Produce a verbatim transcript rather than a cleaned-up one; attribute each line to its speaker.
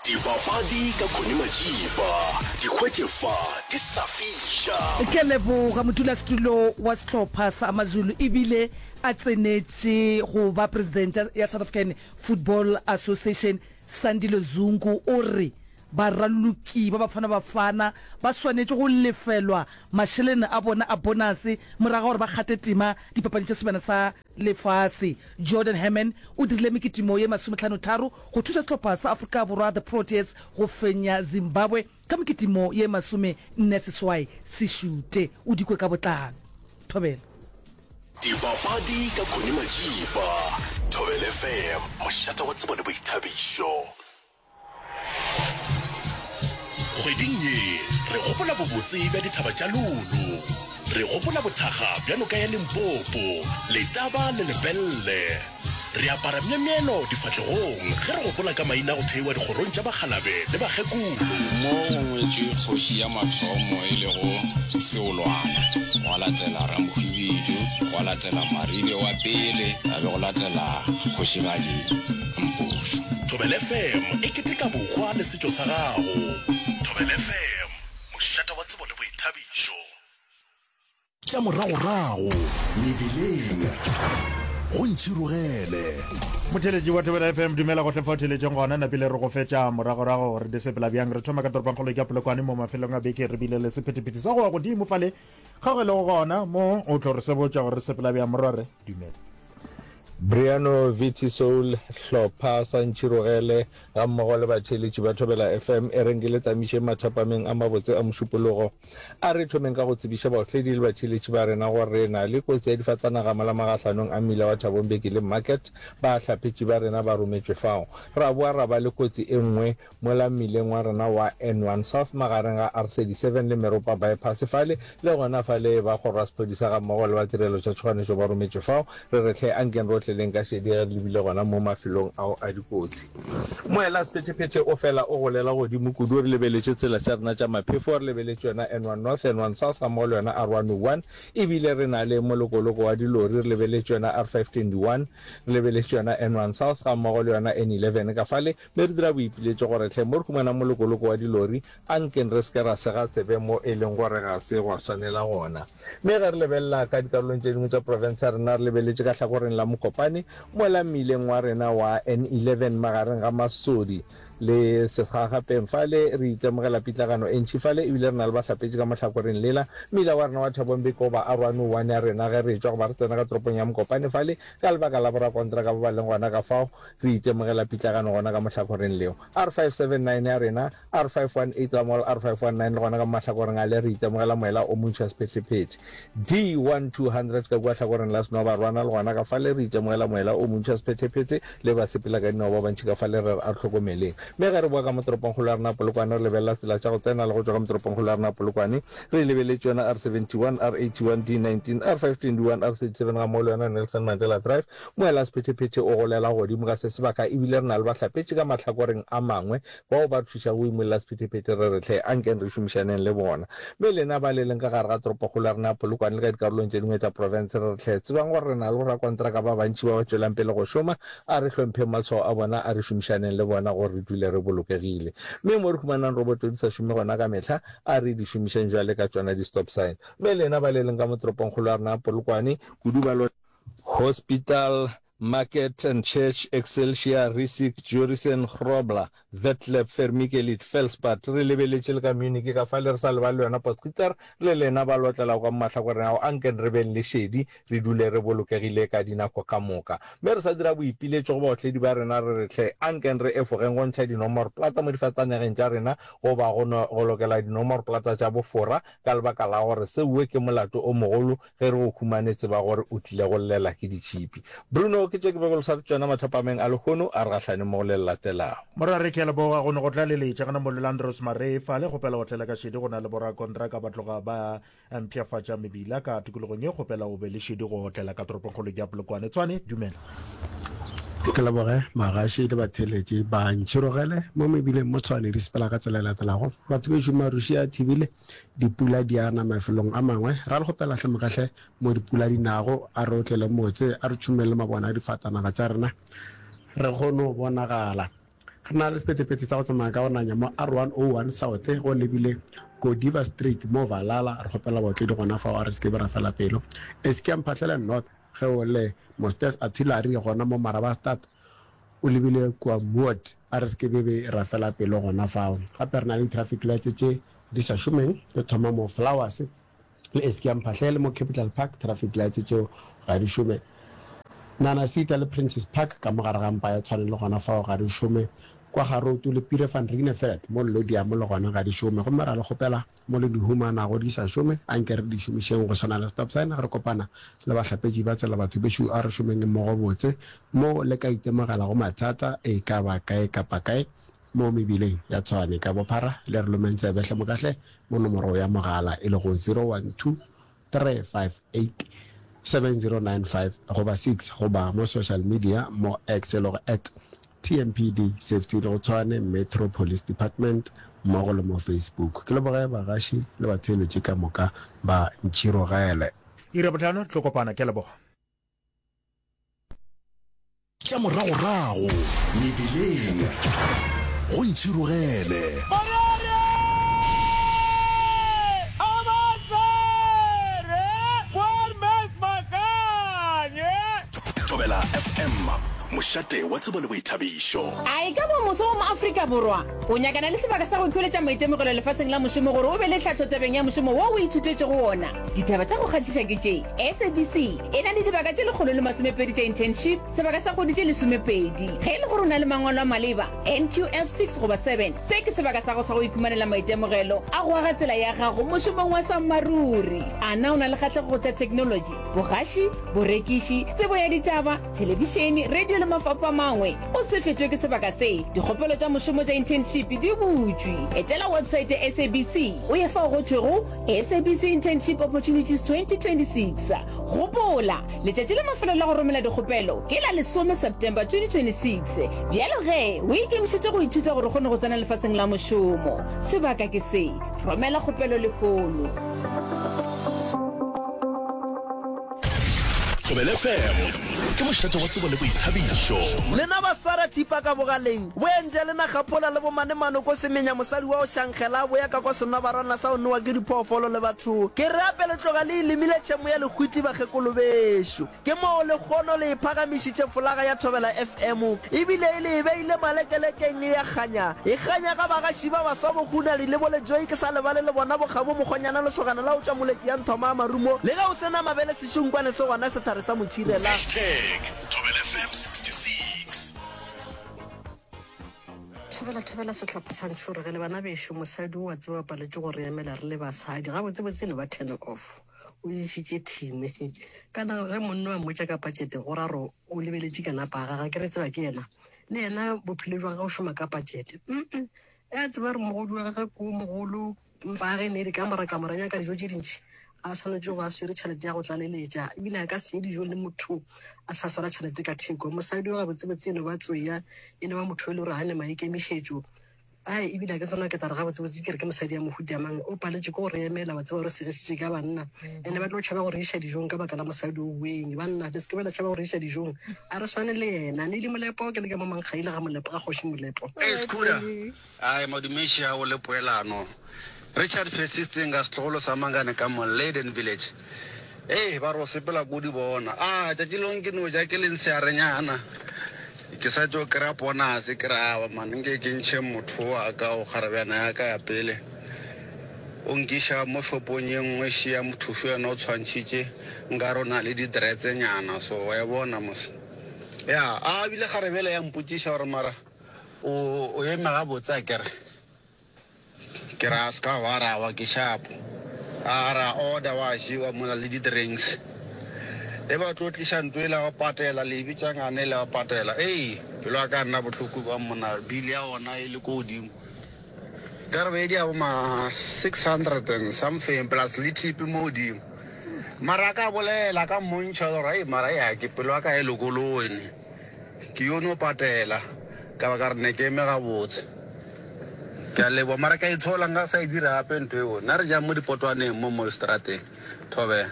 Speaker 1: Dipapadi ka Connie Majiba, di hwetše fa di sa fiša.
Speaker 2: Ke a leboga. Modulasetulo wa sehlopha sa AmaZulu ebile a tsenetše go ba presidente ya South African Football Association Sandile Zungu o re baraloki ba Bafana Bafana ba swanetše go lefelwa mašeleng a bona a bonase morago ga gore ba kgate tema dipapading tša Sebjana sa Lefase. Jordan Herman o dirile mekitimo ye masomehlanotharo go thuša sehlopha sa Afrika Borwa The Proteas go fenya Zimbabwe ka mekitimo ye masome nne seswai se šute. O di kwe ka botlalo. Thobela.
Speaker 1: Dipapadi ka Connie Majiba, Thobela F M, mošate wa tsebo le boithabišo. Kgweding ye re gopola bobotse bja dithaba tša Lulu. Re gopola bothakga bja noka ya Limpopo, Letaba le Lepelle. Re apara myemyelo difahlegong ge re gopola ka maina a go theiwa dikgorong tša bakgalabe le bakgekolo.
Speaker 3: Mo go ngwetšwe kgoši ya mathomo e lego Seolwana, gwa latela Ramohwibidu, gwa latela Maribe wa pele, ga be go latela Kgošigadi Mpošo.
Speaker 1: Thobela F M e keteka bohwa le setšo sa gago. Thobela F M, mošate wa tsebo le boithabišo. Tša moragorago mebileng go ntšhirogele.
Speaker 4: Motheeletši wa Thobela F M, dumela gohle fa o theeletšeng gona. Napile re go fetša moragorago gore di sepela bjang. Re thoma ka toropongkgolo ya Polokwane. Mo mafelong a beke re bile le sephethephethe sa go wa godimo fale ga go e lego gona mo o tlo re sebotša gore re sepela bjang. Morwarre, dumela.
Speaker 5: Briano Viti Soul, Hlopha sa Ntšhirogele gammogo le batheeletši ba Thobela F M, e reng ke le tsamišeng mathapameng a mabotse a Mošupologo. A re thomeng ka go tsebiša baotledi le batheeletši ba rena gore re na le kotsi ya difatanaga mola magahlanong a mmila wa Thabo Mbeki le Market. Bahlapetši ba rena ba rometšwe fao. Ra boa ra ba le kotsi e nngwe mola mmileng wa rena wa N one South magareng ga R thirty-seven le Meropa Bypass fale, le gona fale ba kgoro ya sephodisa gammogo le ba tirelo tša tšhoganetšo ba rometšwe fao. Re re hle ankeng rohle leng ka šedi ge re lebile gona mo mafelong ao a dikotsi. Moela sephethephethe o fela o golela godimo kudu re lebeletše tsela tša rena tša maphefo, re lebeletše yona N one North, N one South gammogo le yona R one oh one, ebile re na le molokoloko wa dilori, re lebeletše yona R five twenty-one, re lebeletše yona N one South gammogo le yona N eleven ka fale. Mme re dira boipiletšo gore hle mo re humanang molokoloko wa dilori, a nkeng re se ke ra sega tsebe mo e leng gore ga se gwa swanela gona. Mme ge re lebelela ka dikarolong tše dingwe tša profense ya rena, re lebeletše ka hlakoreng la Mokopane, mola mmileng wa rena wa N eleven magareng ga Masodi le Sekgagapeng fale, re itemogela pitlagano e ntši fale, ebile re na le bahlapetši ka mo hlakoreng lela. Mmila wa rena wa Thabo Mbeki goba R one oh one ya rena ge re etšwa goba re tsena ka toropong ya Mokopane fale, ka lebaka la borakontraka ba ba leng gona ka fao, re itemogela pitlagano gona ka mo hlakoreng leo. R five seven nine ya rena, R five one eight ga mmogo le R five one nine le gona ka mo mahlakoreng ale re itemogela moela o montši wa sephetephete. D one two hundred ka kua hlakoreng la Senobarwana le gona ka fale re itemogela moela o montši wa sephetephete le basepela ka dinao ba bantši ka fale re re a re hlokomeleng. Mme ge re boa ka mo toropongkgolo ya rena Polokwane re lebelela tsela tša go tsena le go tšwa ka mo toropongkgolo ya rena Polokwane re lebeletše yona R seventy-one, R eighty-one, D nineteen, R five twenty-one, R thirty-seven ga mmogo le yona Nelson Mandela Drive. Moela sephetephete o golela godimo ka se sebaka ebile re na le bahlapetši ka mahlakoreng a mangwe bao ba re thušago go imolla sephetephete. Re re hle ankeng re šomišaneng le bona. Mme lena ba le leng ka gare ga toropokgolo ya rena ya Polokwane le ka dikarolong tše dingwe tša profense, re re hle tsebang gore re na le borakontraka ba bantši ba ba tšwelang pele go šoma. A re hlompheng matshwao a bona, a re šomišaneng le bona gore re dule re bolokegile. Mme mo re humanang roboto di sa šome gona ka mehla, a re di šomišeng bjale ka tšona di-stop sign. Mme lena ba le leng ka mo toropongkgolo ya rena ya Polokwane, kudu ba Hospital, Market and Church, Excelsior, Rissik, Jurison, Grobler, Vetleb, Vermikelid, Felspad, re lebeletše le ka Munich ka fale, re sa lebale le yona Potgieter, le lena ba lotlelago ka mo mahlakoreng ao, anken re beng le šedi, re dule re bolokegile ka dinako ka moka. Mme re sa dira boipiletšo go baotledi ba rena, re re hle, anken re efogeng go ntšha dinomoroplata mo difatanageng tša rena goba go no go lokela dinomoroplata tša bofora, ka lebaka la gore seuwe ke molato o mogolo. Ge re go humane, tseba gore o tlile go llela ke ditšhipi. Bruno, Ke tše ke bego le swaretše tšona mathapameng a lehono, a re gahlane mo go le le latelago.
Speaker 4: Morare, Ke a leboga go no go tlaleletša gona mo Lelandros Maree fale. Kgopela go tlela ka šedi, go na le borakontraka ba tloga ba mpshafatša mebila ka tikologong ye. Kgopela o be le šedi go otlela ka toropongkgolo ya Polokwane. Tshwane, dumela.
Speaker 6: Ke leboge bagaši le batheeletši ba ntšhirogele mo mebileng mo Tshwane di sepela ka tsela e latelago. Batho bešo maruši a thibile, dipula di a na mafelong a mangwe. Ra le kgopela hle mogahle mo dipula di nago, a re otlele motse, a re tšhumeng le mabone a difatanaga tša rena re kgone go bonagala. Re na le sephethephethe sa go tsamaya ka go nanya mo R one oh one South go lebile Godiva Street mo Valhalla. Re kgopela baotledi gona fao a re se ke be ra fela pelo. Eskia Mphahlele North ge o le Mosters Artillery gona mo Marabastad o lebile kua Moot a re se ke be be ra fela pelo gona fao. Gape re na le di-traffic lights tše di sa šomeng di thoma mo Flowers le Eskia Mphahlele mo Capital Park traffic lights tšeo ga di šome. Nanasita le Princess Park ka mo gare ga mpa ya Tshwane le gona fao ga di šome. Kwa Garoutu le Pire van Ryneveld mo Lodiamo le gona ga di šome. Gomme ra le kgopela mo le di humanago di sa šome, anke re di šomišeng go swana le stop sign ge re kopana le bahlapetši ba tsela. Batho bešo a re šomeng mmogo botse mo le ka itemogelago mathata e ka ba kae kapa kae mo mebileng ya Tshwane ka bophara. Le re lomeng tsebe hle mokahle mo nomoro ya mogala e lego zero one two three five eight seven zero nine five goba six goba mo social media mo X e lego at T M P D Safety le go Tshwane Metro Police Department mmogo le mo Facebook. Ke leboge bagaši le batheeletši ka moka ba Ntšhirogele.
Speaker 4: Iri ya bohlano re tlo kopana. Ke a leboga.
Speaker 1: Tša moragorago mebileng go Ntšhirogele. Thobela F M, mošate wa tsebo le boithabišo.
Speaker 7: A e ka ba moso wa Moafrika Borwa o nyakana le sebaka sa go ikhweletša maitemogelo lefaseng la mošomo gore o be le tlhahlo tabeng ya mošomo wo o ithutetšego wona? Ditaba tša go kgahliša ke tše, S A B C e na le dibaka tše lekgolo le masomepedi tša internship, sebaka sa kgwedi tše lesomepedi. Ge e le gore o na le mangwalo a maleba, N Q F six goba seven, se ke sebaka sa gago sa go ikhumanela maitemogelo a go aga tsela ya gago mošomong wa sammaruri. A na o na le kgahlego go tša theknolotši, bogaši, borekiši, tsebo ya ditaba, thelebišene, radio le mafapho a mangwe? O se fetwe ke sebaka se. Dikgopelo tša mošomo tša internship di butšwe. Etela website ya S A B C o ye fao go thwego S A B C Internship Opportunities twenty twenty six. Gopola, letšatši la mafelelo la go romela dikgopelo ke la lesome September twenty twenty six. Bjalo ge, o ikemišetše go ithuta gore o kgone go tsena lefaseng la mošomo. Sebaka ke se. Romela kgopelo lehono.
Speaker 1: Thobela F M ke mošate wa tsebo le boithabišo.
Speaker 8: Lena ba swara thipa ka bogaleng, bo enje le nagaphola le bomanemano ko semenya mosadi wa go šankgela a boya ka kwa senobarwana sa go nowa ke diphoofolo le batho. Ke re ape le tloga le e lemile tšhemo ya lehwiti bakgekolo bešo. Ke moo lekgono le e phagamišitše folaga ya Thobela F M ebile e le e beile malekelekeng e ya kganya. E kganya ga bagaši ba baswa bo Hunadi le bo Lejoi ke sa lebale le bona bo Kgabo Mokgonyana lesogana la go tšwa Moletši ya Nthoma a Marumo le ge o se na mabele sešunkwane se gona sethare sa motšhirela.
Speaker 1: Hashtag Thobela F M sixty six.
Speaker 9: Thobela thobela sehlopha sa Ntšhorogele bana bešo mosadi o wa tseba o paletše go re emela re le basadi gabotsebotse e no ba turn off o išitše thime kana ge monna wa mmotša ka budget go ra gore o lebeletše ka napa ga gage ke re tseba ke yena le yena bophelo jwa gagwe o šoma ka budget mm a tseba gore mogodi wa gagwe ko mogolo mpa ge ne di kamora kamora nyaka dijo tše dintši a swanetše go a swere tšhelete ya go tlaleletša ebile a ka se ye dijo le motho a sa swara tšhelete ka theko mosadi wa gabotsebotse e no ba tsoya e no ba motho e le gore ga ne maikemišetšo ai ebile a ke tsona ke tla re gabotsebotse ke re ke mosadi ya mohuta mang o paletše ke go re emela wa tseba gore segišitše ka banna ene ba tlo tšhaba go re iša dijong ka baka la mosadi o weng banna le se ke ba la tšhaba go re iša dijong a re swane le yena ne le molepo ke le ka mo mankgaile ga molepo ga kgoši molepo.
Speaker 10: Hey Scooter, ai madumeši ao le poelano. Richard Persisting ka setlogolo sa Mangane ka mo Leyden Village. Ee, ba re o sepela ko di bona. A tšatši lengwe ke no ja ke le ntshearenyana. Ke sa tšo kry-a bonus ke re awa man nke ke ntšhe motho wa ka o kgarebjana ya ka ya pele. O nkiša mo shopong ye nngwe šia mothušo yena o tshwantšhitše nkare o na le di-dreads nyana so wa e bona mos. Ya, a bile kgarebele ya mpotšiša gore mara o o eme gabotse akere. Ke ra ska wa ra wa ke shapo. A ra order wa jewa mola le di drinks. E ba tlo tliša ntlo ela wa patela le e bitša ngane ela wa patela. Ei pelo ya ka nna bohloko ba mona bill ya ona e le ko godimo. Ka re be di ya bo ma six hundred and something plus le tip mo godimo. Mara a ka bolela ka mmontšha gore ei mara ya ke pelo ya ka e lokologe ne. Ke yo no patela ka ba ka re ne ke eme gabotse. Ke a leboga mara ke a itshola nka sa e dira gape ntho eo. Nna re jang mo dipotwaneng mo mo strateng. Thobela.